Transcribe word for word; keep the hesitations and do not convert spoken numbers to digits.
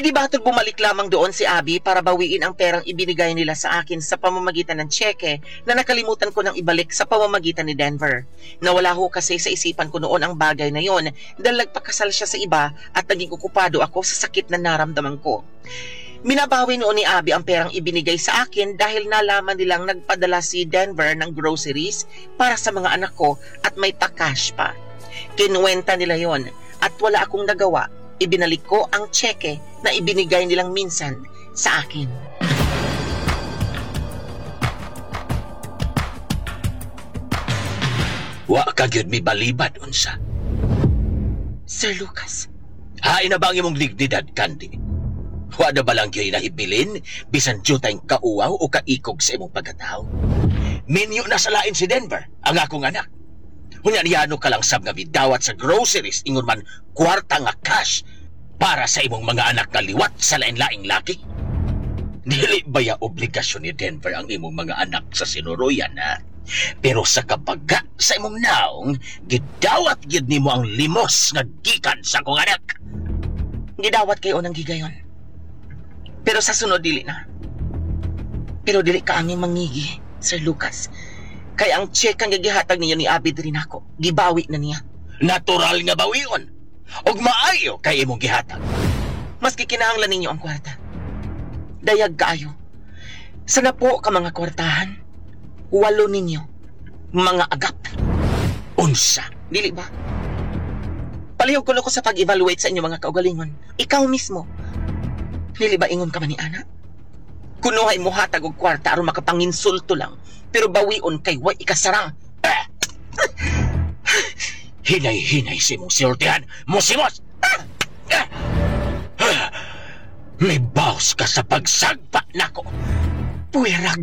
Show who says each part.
Speaker 1: Hindi ba ito'y bumalik lamang doon si Abby para bawiin ang perang ibinigay nila sa akin sa pamamagitan ng tseke na nakalimutan ko nang ibalik sa pamamagitan ni Denver. Nawala ho kasi sa isipan ko noon ang bagay na yon dahil nagpakasal siya sa iba at naging okupado ako sa sakit na naramdaman ko. Minabawi noon ni Abby ang perang ibinigay sa akin dahil nalaman nilang nagpadala si Denver ng groceries para sa mga anak ko at may pa-cash pa. Kinuwenta nila yon at wala akong nagawa. Ibinalik ko ang tseke na ibinigay nilang minsan sa akin.
Speaker 2: Wa ka gyud mi balibad unsa.
Speaker 1: Sir Lucas,
Speaker 2: Hain na ba ang imong dignidad, Candy? Wa na ba lang gyud nahibilin bisan jutay kauwaw o kaikog sa imong pagkatao? Minyo na sa lain si Denver, ang akong anak. Unya niyano ka lang sab nga midawat sa groceries ingon man kwarta nga cash para sa imong mga anak nga liwat sa lain-laing laki. Dili ba ya obligasyon ni Denver ang imong mga anak sa sinuruyan, ha? Pero sa kabaga sa imong naong, gidawat gid nimo ang limos nga gikan sa akong anak.
Speaker 1: Gidawat kayo ng gigayon. Pero sa sunod dili na. Pero dili ka anging mangigi, Sir Lucas. Kay ang check ang gigihatag ninyo ni Abby diri nako. Gibawi na niya.
Speaker 2: Natural nga bawion. Og maayo kay imong gihatag.
Speaker 1: Maski kinahanglan ninyo ang kwarta. Dayag kaayo. Sana po ka mga kwartahan. Walo ninyo. Mga agap.
Speaker 2: Unsa?
Speaker 1: Dili ba? Palihog ko ko sa pag-evaluate sa inyong mga kaugalingon. Ikaw mismo. Dili ba ingon ka man ni Ana? Kunuhay mo hatag og kwarta aron makapanginsulto lang. Pero bawion kay way ikasarang.
Speaker 2: Hinay-hinay si mong siltihan. Musimos! May bawas ka sa pagsagpa nako. Puwera